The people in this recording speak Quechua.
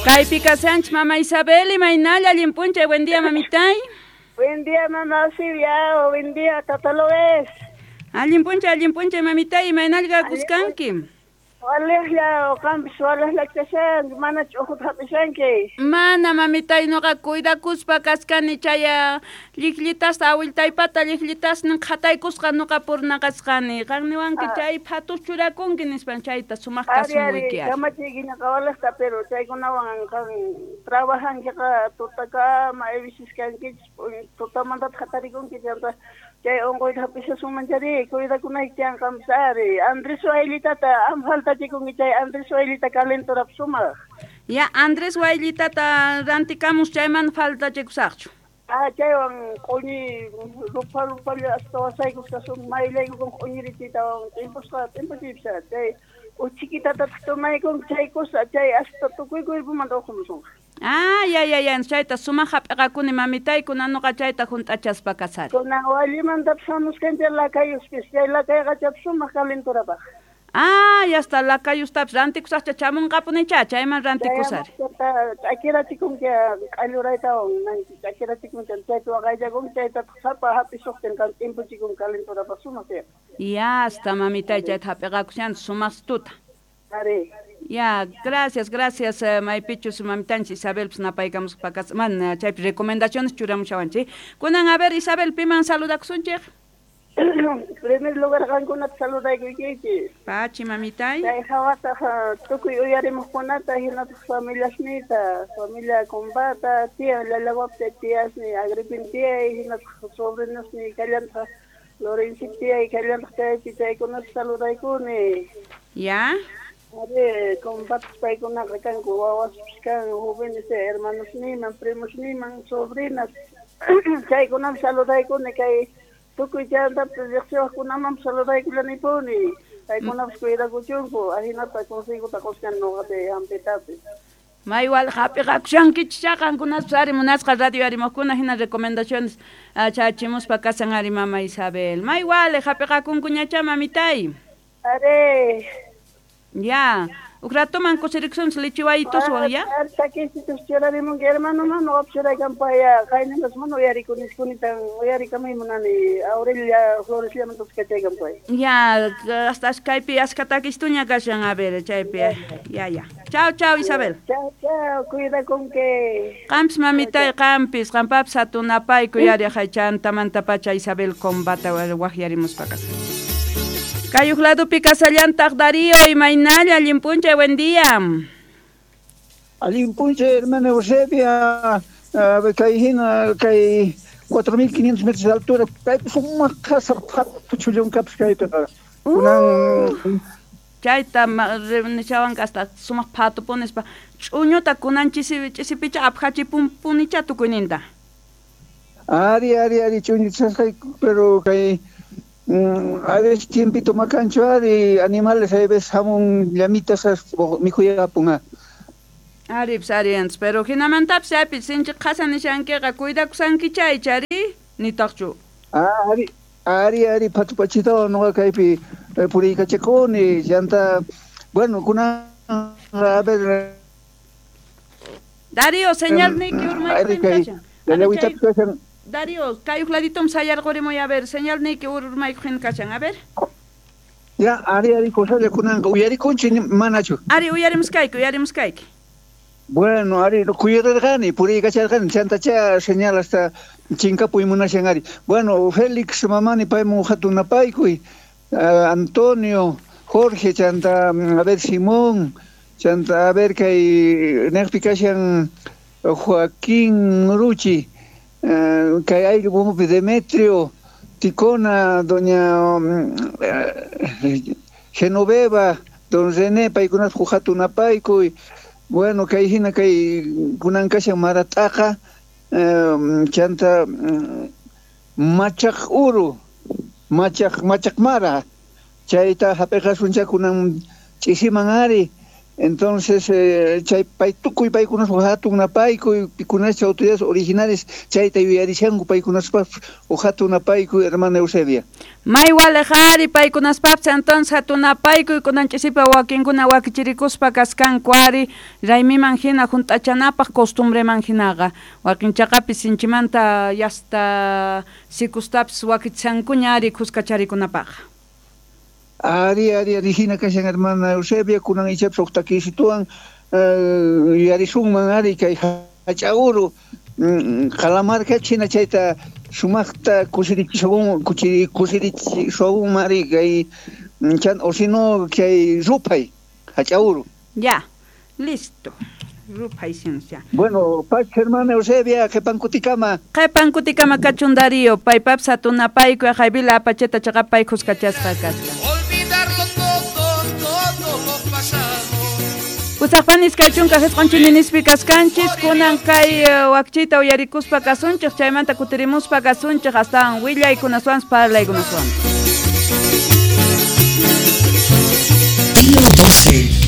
Kaypi kashanchik mama Isabel, imaynalla allin p'unchay, buen día mamitay. Buen día mama Silvia, buen día Tata Loes. Allin p'unchay mamitay, imaynalla kakuskanki. Walejlla qampis walejlla kashanki, mana ch'ujuta hap'ishanki. Mana mamitay, nuqa cuidakuspa kaskani chay lliqllitasta awiltaypata lliqllitasnin qhataykusqa nuqa purnaqasqani. Qan niwanki chay phatus churakunki nispan chayta sumaq kasumuyki. Ari, kamachiykiñaqa walejta, pero chaykunawan qan trabajankiqa tutakama ayvisis kankichis, tutamantataq hatarikunki chanta chay unquyta hap'ishasunman chari, cuidakunayki tiyan qampis ari. Andrés Waylitata am faltachikunki chay Andrés Waylita calenturap sumaq. Ya, Andrés Waylitata rantikamus chayman faltachikusaqchu. Ah, chaywan q'uñi rupa rupalla hasta wasaykusqa mayllaykukun q'uñirichiytawan t'impusqa t'impuchiypis chay uchikitatataq tomaykunki chay kusa chay hasta tukuy cuerpomanta uqumusunqa. Ah, ya, ya, ya, chayta sumaq hap'iqakuni mamitay, kunan nuqa chayta hunt'achaspa kasari. Kunan wallimantapas hamuskanchik lakayuspis, chay lakayqa sumaq calenturapaq. Ah, ya está, lakayustapis rantikusaqcha chamunqapunicha, chayman rantikusari. Ch'akirachikunki q'alluraytawan, ch'akirachikunki chayta waqaychakunki, chaytataq sapa hap'isuqtin qan t'impuchikunki calenturapaq sumaq tiyan. Ya está, mamitay, chayta hap'iqakushan sumaq tuta. Ari. Ya, gracias, gracias, maypichus mamitanchik Isabel pis napaykamuspa kas, man chaypi recomendaciones churamushawanchik. Kunan, a ver, Isabel, piman saludakusunchik? Primer lugar qankunata saludaykuykichis. Pachi, mamitay. Chay hawataq tukuy uyarimuqkunata hinataq familiasniyta, familia Combata, tía Llallawapta, tíasni Agripin tía, hinataq sobrinosni kallantaq Lorenzo tía, kallantaq chaypi chaykunata saludaykuni. Ya. Ari, combates paykunaqa kanku wawaspis kan, jóvenes hermanosniman, primosniman, sobrinas. Chaykunaman saludaykuni kay tukuy chantapis riqsiwaqkunamanpas saludaykullanipuni. Paykunapas cuidakuchunku, ahinata consejota quskan nuqapi hampitapis. Maywal hap'iqakushankichik qankunapas ari munasqa radio arimuqkuna hina recomendaciones chachimuspa kasan ari mama Isabel. Maywal hap'iqakunkuñacha mamitay. Ari. Ya, huk ratoman kusirikusunchik lichiwaytuswan, ya? Takisitus churarimunki hermano mano churaykanpaya qaynimas mana uyarikuniskunita uyarikamay munani Aurelia Flores llamantas kachaykanpay. Ya, hasta kaypi askha takistuña kashan, a ver, chaypi. Ya, ya. Chao, chao, Isabel. Chao, chao, cuidakunki. Qampis mamitay, qampis, qampapis hatunapaykuy ari haychantamantapacha Isabel Combata waqyarimuspa kasan. Kayuq ladupi kasallantaq Darío, imaynalla, allin p'unchay, buen día. Allin p'unchay, hermana Eusebia, kay hina, kay 4500 metros de altura, kaypi sumaq qhasa phatuchullunkapas kaypiqa. Kunan chayta nishawanqa hasta sumaq phatupunispa ch'uñuta kunan ch'isipicha aphachipunpunicha tukuyninta. Ari, ari, ari, ch'uñuchasqay, pero kay a veces tiempito macancho ari animales a veces hamun llamitas mikhuyapun. Ari pis pero hinamantapis api sinchi qhasa nishankiqa cuidakusanki chay chari nitaqchu. Ah, ari ari ari phatupachito nuqa kaypi puriykachakuni llanta bueno kunan a ver Darío señal niki urmaypin kashan. Darío, kayuq laditum sayarqurimuy, a ver, señal niki urmaykuq kashan, a ver. Ya, ari, ari, cosalla kunanqa uyarikunchik manachu. Ari, uyarimuskayki, uyarimuskayki. Bueno, ari, kuyararqani, puriykacharqani, chantacha señal hasta chinkapuy munashan ari. Bueno, Félix mamani paymun hatunapaykuy, Antonio, Jorge, chanta, a ver, Simón, chanta, a ver, kay neqpi kashan Joaquín Ruchi, kay ayllu bumupi Demetrio, Ticona, doña Genoveva, don René, paykunata hatunapaykuy. Bueno, kay hina kay kunan kashan Marataqa, chanta machaq uru, machaq mara, chayta hap'iqasuncha kunan ch'isiman ari, Entonces, chay pay tukuy paykunaspa hatun napaykuy, pikunacha autoridades originales chayta yuyarishanku paykunaspa hatun napaykuy, hermana Eusebia. May walejari paykunaspapis entonces hatun napaykuy kunan ch'isipa wakinkuna wakichirikuspa kaskanku ari raymiman hina hunt'achanapaq costumbreman hinaqa wakin chaqapis sinchimanta yasta sikustapis wakichankuña ari kuskacharikunapaq. Ari, ari, ari, hina kashan hermana Eusebia, kunan ichapis huk takisituwan yuyarisunman ari kay hach'auru qalamarka china chayta sumaqta kusirichisunman ari kay chan o si no kay ruphay hach'auru. Ya, listo. Ruphay ciencia. Bueno, paz hermana Eusebia, qhipankutikama. Qhipankutikama kachun Darío, paypapis hatunapaykuy haybila apacheta chaqapay kuskachasqa kasqa. Usaqpanis kachunka jisq'unchininispi kaskanchis kunan kay wakchita uyarikuspa kasunchik chaymanta kutirimuspa kasunchik astawan willaykunaswan parlaykunaswan. Tío 12.